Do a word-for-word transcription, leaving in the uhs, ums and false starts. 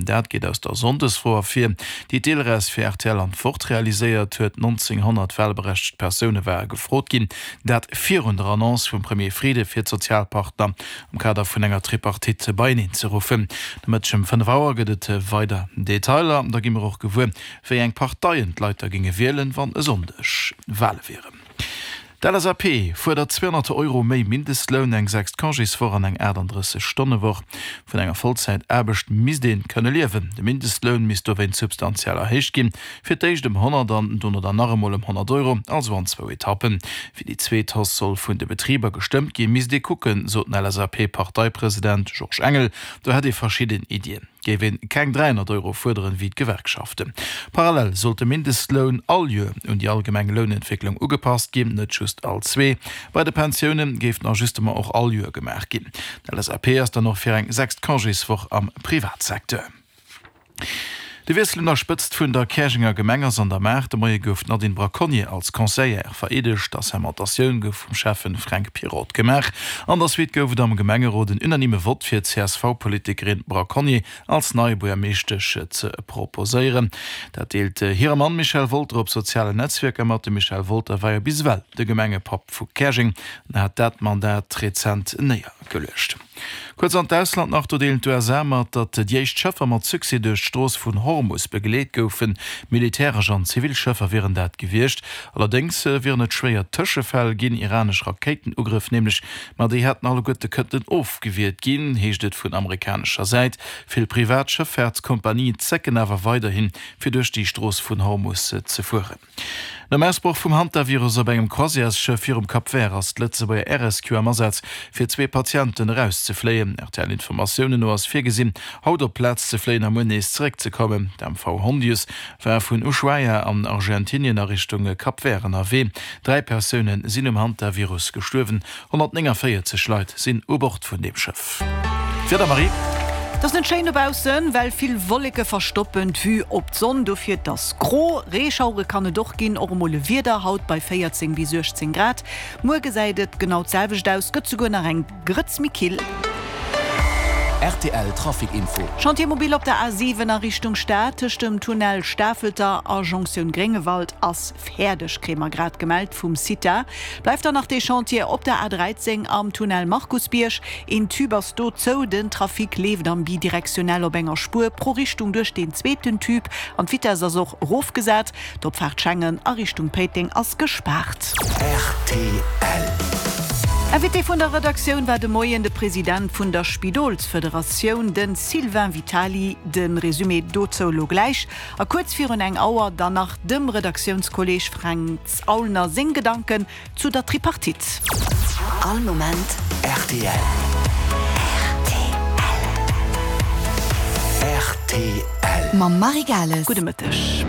Dat geet aus der Sonndesfro ervir, déi d'Ilres fir rtl an d'Wort realiséiert huet. nonzénghonnert walberechtegt Persoune ware gefrot ginn, dat virun der Annonce vum Premier Frieden, fir d'Sozialpartner am Kader vun enger Tripartite beieneen ze ruffen. De Mëtteg ëm fënnef Auer gëtt et weider Detailer. Da gi mer och gewuer, wéi eng Parteien d'Leit da géinge wielen, wann e Sonndeg Wale wieren. D'LSAP fuerdert zweehonnert Euro méi Mindestloun, eng sechst Congéswoch an eng aachtanddrësseg Stonnewoch. Vun enger Vollzäitaarbecht misst ee kënne liewen. De Mindestloun misst dowéinst substantiell erhéicht ginn, fir d'éischt ëm honnert an dono dann nach emol ëm honnert Euro, also an zwou Etappen. Wéi déi zweet Hausse soll vun de Betriber gestëmmt ginn, misst ee kucken, sot den LSAP-Parteipresident Georges Engel. Do hätt ee verschidden Iddien. Géif een keng dräihonnert Euro fuerderen, wéi d'Gewerkschaften. Parallel sollt de Mindestloun all Joer un déi allgemeng Lounentwécklung ugepasst ginn, net just all zwee. Bei de Pensioune géif den Ajustement och all Joer gemaach ginn. D'LSAP ass dann och fir eng sechst Congéswoch am Privatsecteur. De Wiessel un der Spëtzt vun der Käerjenger Gemeng ass an der Maach. De Moie gouf d'Nadine Braconnier als Conseillère vereedegt. D'Assermentatioun gouf vum Schäffen Fränk Pirotte gemaach. An der Suite gouf et am Gemengerot en unanime Vott fir d'CSV-Politikerin Braconnier als nei Buergermeeschtesch ze proposéieren. Dat deelt hire Mann Michel Wolter op sozialen Netzwierker mat. De Michel Wolter war jo bis ewell de Gemengepapp vu Käerjeng an hat dat Mandat rezent néiergeluecht. Kuerz an d'Ausland nach, Do deelen d'USA mat, datt déi éischt Schëffer mat Succès duerch d'Strooss vun Hormus begleet goufen. Militäresch an zivil Schëffer wieren dat gewiescht. Allerdéngs wieren et schwéier Tëschefäll ginn, iranesch Rakéitenugrëff nämlech, ma déi hätten alleguerte kënnten ofgewiert ginn, heescht et vun amerikanescher Säit. Vill privat Schëffaartskompanien zécken awer weiderhin, fir duerch déi Strooss vun Hormus ze fueren. Nom Ausbroch vum Hantavirus op engem Croisièresschëff virum Cap Vert ass d'Lëtzebuerger Air Rescue am Asaz, fir zwee Patienten erauszefléien. R T L-Informatiounen no ass virgesinn, haut op d'Plaz ze fléien a muer nees zeréckzekommen. D'M V Hondius war vun Ushuaia an Argentinien a Richtung Cap Vert ënnerwee. Dräi Persoune sinn um Hantavirus gestuerwen, honnertnénganvéierzeg Leit sinn u Bord vun deem Schëff. D'Wieder, Marie? Et ass net schéin dobaussen, well vill Wolleke verstoppen d'Vue op d'Sonn. Dofir et ass gro. Reeschauere kann et och ginn, och emol e Wieder, haut bei véierzéng bis uechtzéng Grad. Muer gesäit et genau d'selwecht aus, gëtt souguer nach eng Grëtz méi kill. R T L Trafic Info. Chantier mobile op der A siwen a Richtung Stad, tëscht dem Tunnel Stafelter a Jonktioun Gréngewald ass fäerdeg, kréie mer grad gemellt vum CITA. Bleift dann nach dee Chantier op der A dräizéng am Tunnel Markusbierg. Een Tube ass do zou, den Trafic leeft am bidirektionell op enger Spuer pro Richtung duerch deen zweeten Tube an d'Vitess ass och erofgesat. D'Opfaart Schengen a Richtung Péiteng ass gespaart. R T L. Invité vun der Redaktioun war de Moien de President vun der Spidolsfederatioun, de Sylvain Vitali. De Resumé dozou elo gläich. A kuerz virun eng Auer dann nach dem Redaktiounskolleeg Fränz Aulner seng Gedanken zu der Tripartite. All Moment R T L. R T L. R T L. Mam Marie Gales. Gudde Mëtteg.